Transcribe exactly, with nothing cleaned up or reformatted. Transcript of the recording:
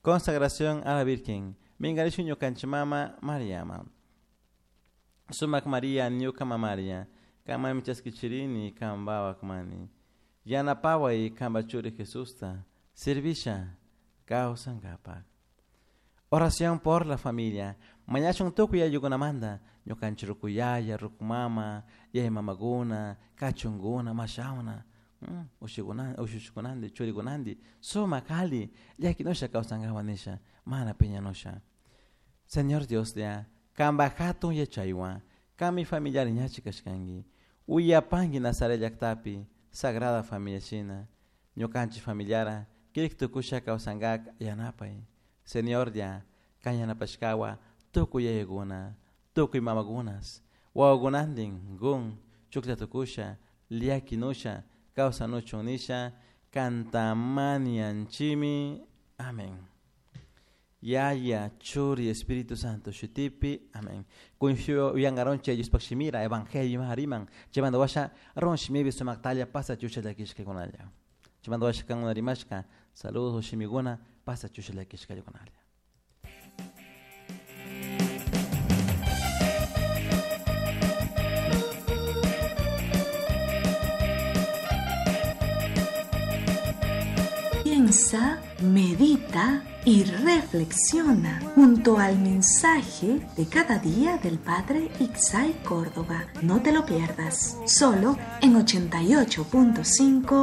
Consagración a la Virgen. Mingarishun ñukanchik mama Mariama. Sumak Maria ñuka mamaria. Kamami chaskichirini kambawak mani. Yanapaway kamba churi Jesusta. Servisha kawsankapak. Oración por la familia. Mañashun tukuy ayukunamanta. Ñukanchik rukuyaya, rukumama, yaya mamaguna, kachunguna, mashawna. Ushikuna, ushushikunandi, churikunandi, sumak ali, llakinusha kawsankapak nisha, mana piñanusha. Señor Dios ya, kamba hatun yachaywan, kami familiar ñachi kashkanki, uyapanki Nazaret llaktapi, Sagrada Familia shina, ñukanchik familiara, kirik tukusha kawsankak yanapay. Señor ya, kan yanapashkawa, tukuy yayakuna, tukuy mamakunas, wawakunantin, gun, chuklla tukusha, llakinusha, kawsanuchun nisha, kantamanianchimi. Amén. Yaya, Churi, Espíritu Santo, Shutipi, amén. Kunfio uyangaronche Diospaj shimira, Evangelio hariman, chaymanta washa ron shimibi sumaktalla pasa chusha llakishkakunalla. Chaymanta washa kankuna rimashka, saludos shimiguna, pasa chusha llakishkakunalla. Piensa, medita y reflexiona junto al mensaje de cada día del Padre Ixay Córdoba. No te lo pierdas, solo en ochenta y ocho punto cinco